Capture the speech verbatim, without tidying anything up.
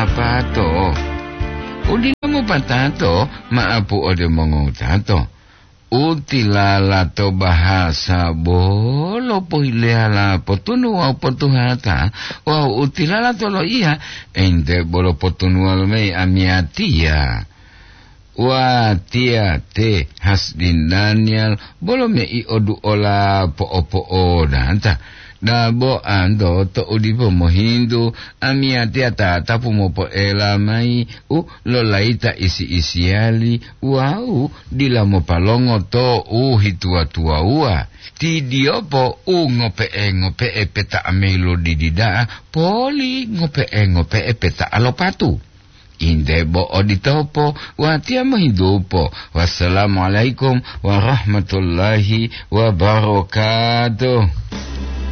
Pato. Udila mopatato, maapu ode mongowutato. Utilala to bahasa bolo pohileyala potunu wawu potuhata, wawu utilala to loiya, ente bolo potunuwa lomayi amiyatiya. Watiya te Hasdin Daniel bolo mei oduola po'opo'odanta. Dabo anto to udipo mohintu, amiyatiya tatapu mopoela mayi u lolayita isi-isiyali wawu dila mopalongo to u hituwa-tuwawuwa. Ti diyopo u ngope'e-ngope'e peta'a mayi lo didi da'a, poli ngope'e-ngope'e peta'a lo patu. Inde bo oditopo, watiya mohintupo. Wassalamualaikum warahmatullahi wabarakatuh.